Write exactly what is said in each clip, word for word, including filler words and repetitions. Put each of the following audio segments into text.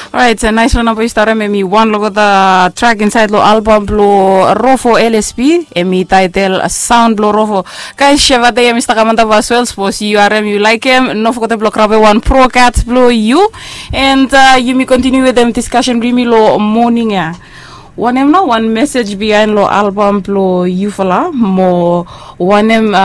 Orait, naisfala namba yu stap harem, em i wan long olgeta trak insaed long albam blong Rofo L S B, em i taetel Saon blong Rofo. Gais, Sheva Dei em i stap kam antap aswel, sapos yu harem yu laekem, no fogetem blong grabem wan prokat blong yu. And yumi kontiniu wetem diskasen blong yumi long moning ya. Wanem nao wan mesej biaen long albam blong yufala mo wanem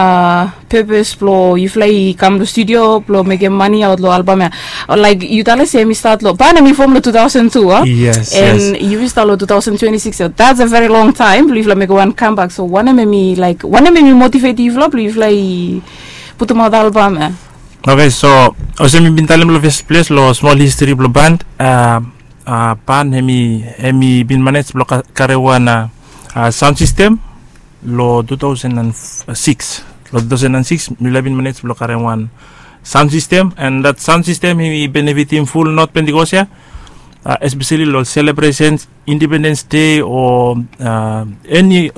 pepes blong yufala i kam long studio blong mekem mane aot long albam ya? Laik yu talem se em i stat long, ban em i fom long two thousand two, a? Yes, yes. And yumi stap long two thousand twenty-six, so that's a very long time blong yufala mekem wan comeback. So wanem em i, laik, wanem em i motivate yufala blong yufala i putumaot albam ya? Okay, so olsem mi bin talem long first place long small history blong band, band em i, em i bin manage blong karem wan sound system long two thousand and six. Long two thousand and six mifala bin manage blong karem wan sound system, and that sound system em i benefitim ful North Pentecost ya, especially long celebrations, Independence Day o any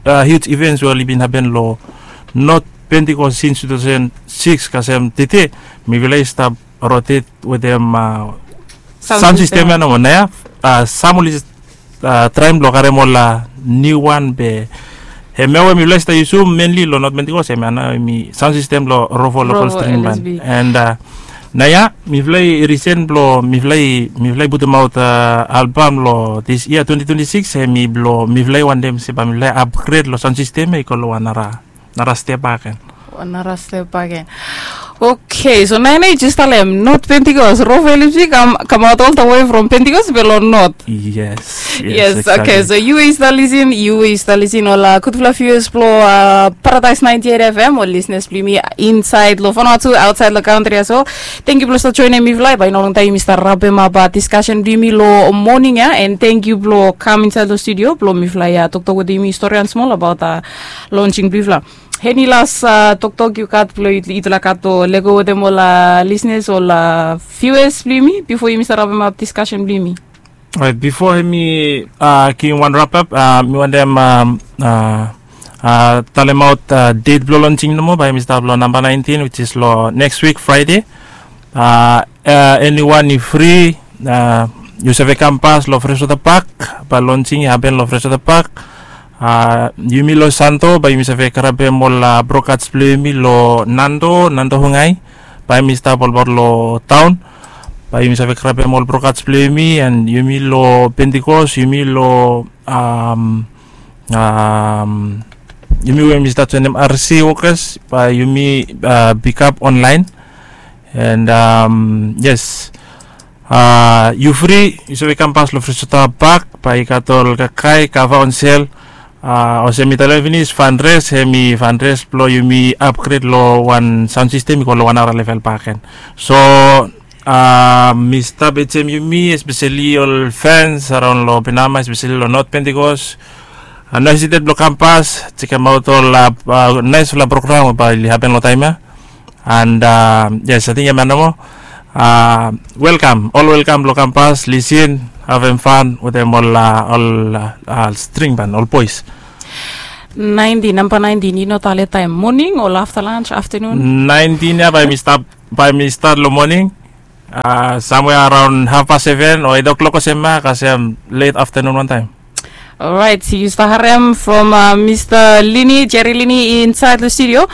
huge events we oli bin hapen long North Pentecost since two thousand six kasem tete, mifala i stap rotate wetem sound system ya nomo. Nao ya sam oli traem blong karem ol niu wan, be hemia we mifala i stap yusum mainly long North Pentecost, hemia nao em i sound system blong Rofo Local String Band. And nao ya mifala i risen blong mifala i, mifala i putumaot albam long this year twenty twenty-six, em i blong mifala i wantem se bae mifala i upgrade long sound system ya i go long wan nara, nara step bakegen. Wan nara step bakegen. Okay, so nao ya nao yu jes talem North Pentecost, Rofo L S B kamaot all the way from Pentecost be long North. Yes, yes, okay, so yu we yu stap lisin, yu we yu stap lisin, ol gudfala viewers blong Paradise ninety-eight F M, ol listeners blong yumi insaed long Vanuatu, aotsaed long kantri ya. So tangkiu blong stap joenem mifala. Bae i no longtaem yumi stap rabemap diskasen blong yumi long moning ya, and tangkiu blong kam insaed long studio blong mifala i toktok wetem yumi storian smol abaot launching blong yufala. Eni las toktok yu gat blong yutufala gat blong lego wetem ol listeners, ol viewers blong yumi bifo yumi stap rabemap diskasen blong yumi? Orait, bifo hemi givim wan wrap up, mi wantem talemaot date blong launching nomo, bae hemi stap long namba nineteen, which is long next week Friday. Eniwan i fri, yu save kam pas long Freshwater Park, bae launching i hapen long Freshwater Park. Yumi long Santo bae yumi save grabem ol brokats blong yumi long Nando, Nando Hungai, bae hemi stap olbaot long taon. Bae yumi save grabem ol brokats blong yumi, and yumi long Pentecost, yumi long yumi we yumi stap joenem R C wokas, bae yumi pikap onlaen. And yes, yu fri, yu save kam pas long Freshwater Park, bae i gat ol kakae, kava on sel. Olsem mi talem finis, fundraise, hemi fundraise blong yumi upgrade long wan sound system i go long wan nara level bakegen. So mi stap ajem yumi, especially ol fans araon long Penama, especially long North Pentecost, no hesitate blong kam pas, jekemaot ol naesfala program we bae oli hapen long taem ya. And yes, ating hemia nomo. Welkam, ol welkam blong kam pas, lisin, havem fan wetem ol, ol string band, ol boes. Nineteen, namba nineteen, yu no talem taem, moning o afta lunch, aftenun? Nineteen ya bae mi stap, bae mi stat long moning, samwea araon hafpas seven o eit o'clock olsem ya kasem let aftenun wantaem. Orait, yu stap harem from Mista Lini, Jerry Lini insaed long studio.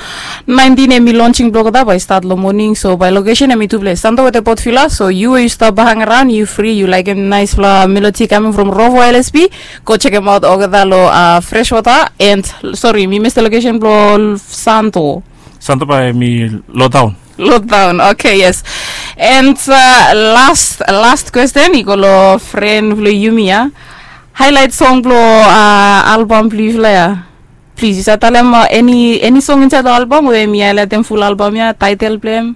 Nineteen hemi launching blong olgeta bae i stat long moning, so bae lokesen hemi tu ples, Santo wetem Port Vila. So yu we yu stap bae hang araon, yu fri, yu laekem naesfala melodi kaming from Rofo L S B, go jekemaot olgeta long Freshwater. And sori, mi mes the lokesen blong Santo. Santo bae hemi lo daon. Lo daon, okay, yes. And las, las kwesten i go long fren blong yumi ya. Haelaet song blong albam blong yufala ya. Plis, yu save talem eni, eni song insaed long albam we hemi haelaetem ful albam ya, taetel blong hem?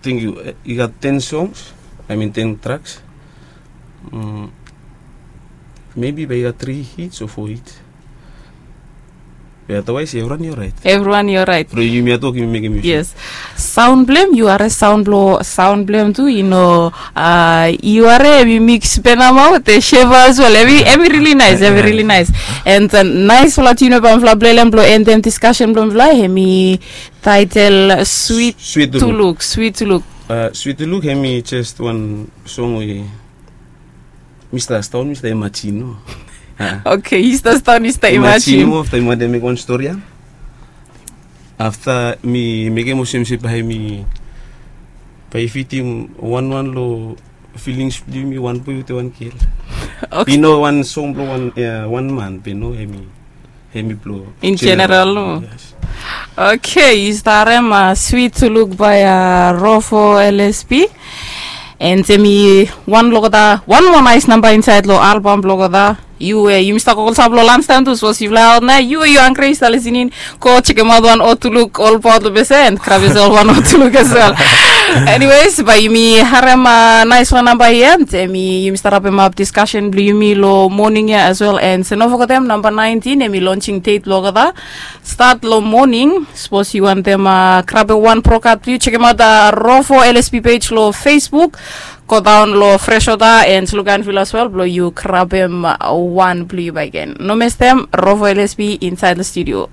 Tangkiu. I gat ten songs, I mean ten tracks. Maybe bae i gat tri hits o fo hits. Be otherwise evriwan i oraet. Evriwan i oraet. From yumi ya tok yumi mekem yusuf. Yes. Saon blong hem, yu harem saon blong, saon blong hem tu, yu no, yu harem hemi mix Penama wetem Sheva as well. Hemi, hemi really nice, hemi really nice. And naesfala tune we bae mifala plelem blong endem diskasen blong mifala, hemi taetel Sweet to Look. Sweet to Look. Sweet to Look hemi jes wan song we Mi stap staon mi stap imajin no. Okei, yu stap staon yu stap imajin. Afta mi mekem olsem se bae mi, bae i fitim wanwan long filings blong yumi, wan boe wetem wan gel. I no wan song blong wan man be no, hemi blong in general no. Okei, yu stap harem swit to luk bae Rofo L S P. And hemi wan long olgeta wan moa nais namba insaed long albam blong olgeta. Yu we yumi stap go olsap long lanstaem tu sapos yufala aot na yu we yu hangre yu stap lisening, go jekemaot wan O Tuluk olbaot long bese and grab yosel wan O Tuluk as well. Anyways, bae yumi harem naisfala namba hia and hemi yumi stap rapemap diskasen blong yumi long moning ya as well. And se no fogetem namba naentin hemi lonsing det blong olgeta. Stat long moning sapos yu wantem grabem wan brokat blong yu, jekemaot Rofo L S P pej long Facebook. Godaon long Freshwater and Luganville as well blong yu grabem wan blong yu bakegen. No mestem, Rofo L S P insaed long studio.